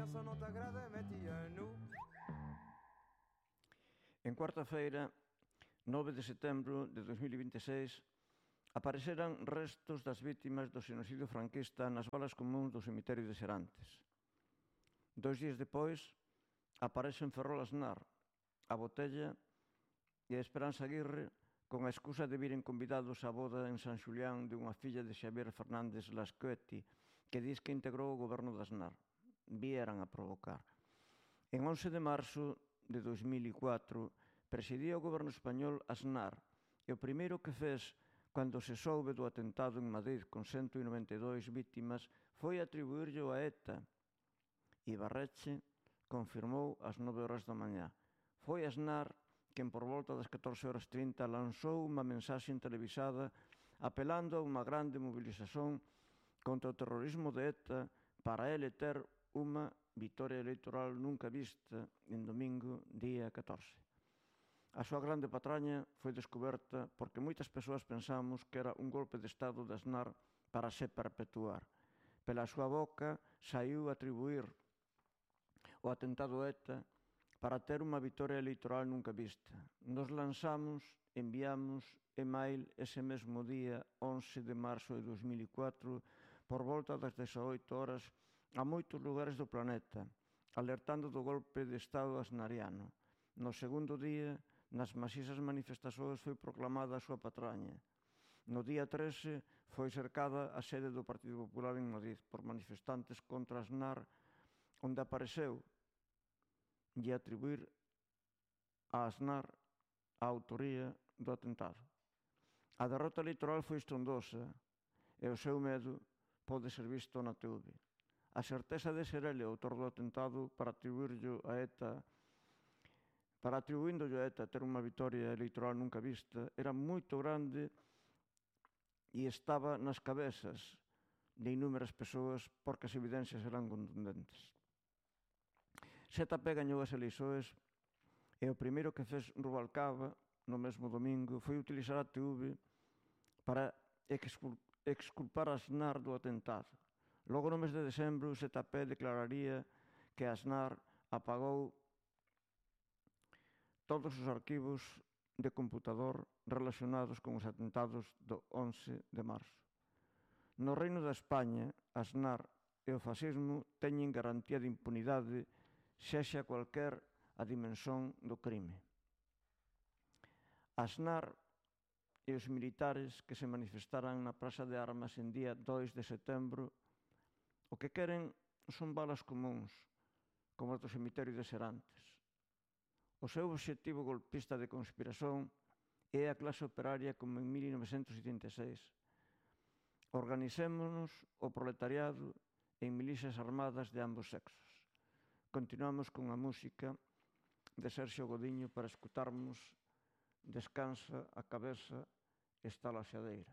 ça non t'agrada metíano. En cuarta-feira, 9 de setembro de 2026, apareceran restos das vítimas do xenocidio franquista nas valas comúns do cemiterio de Serantes. 2 días depois, aparece en Ferrol Aznar, a Botella e a Esperanza Aguirre con a excusa de viren convidados á boda en San Xulián de unha filla de Xavier Fernández Lascueti, que dis que integrou o goberno de Aznar. Vieran a provocar. En 11 de marzo de 2004, presidía o goberno español Aznar, e o primeiro que fez cando se soube do atentado en Madrid con 192 vítimas foi atribuírllo a ETA. Ibarretxe confirmou ás 9 horas da mañá. Foi Aznar quen por volta das 14:30 lanzou unha mensaxe televisada apelando a unha grande mobilización contra o terrorismo de ETA para ele ter unha vitoria electoral nunca vista en domingo, día 14. A súa grande patraña foi descoberta porque moitas persoas pensamos que era un golpe de Estado de Aznar para se perpetuar. Pela súa boca saiu a atribuir o atentado ETA para ter unha vitoria electoral nunca vista. Nos lanzamos, enviamos email ese mesmo día, 11 de marzo de 2004, por volta das 18 horas, a moitos lugares do planeta, alertando do golpe de Estado aznariano. No segundo día, nas masisas manifestacións foi proclamada a súa patraña. No día 13 foi cercada a sede do Partido Popular en Madrid por manifestantes contra Aznar, onde apareceu e atribuir a Aznar a autoría do atentado. A derrota electoral foi estrondosa e o seu medo pode ser visto na TV. A certeza de ser ele o autor do atentado para atribuírllo a ETA, para atribuíndolle a ETA ter unha vitoria electoral nunca vista, era moito grande e estaba nas cabezas de inúmeras persoas porque as evidencias eran contundentes. ZP gañou as eleições e o primeiro que fez Rubalcaba no mesmo domingo foi utilizar a TV para exculpar a Aznar do atentado. Logo no mes de decembro, o ZP declararía que Aznar apagou todos os arquivos de computador relacionados con os atentados do 11 de marzo. No Reino da España, Aznar e o fascismo teñen garantía de impunidade sexa cualquer a dimensón do crime. Aznar e os militares que se manifestaran na Praza de Armas en día 2 de setembro o que queren son balas comúns, como as do cemiterio de Serantes. O seu obxectivo golpista de conspiración é a clase operaria como en 1976. Organicémonos o proletariado en milicias armadas de ambos sexos. Continuamos con a música de Sergio Godiño para escutarmos Descansa a cabeza está la xadeira.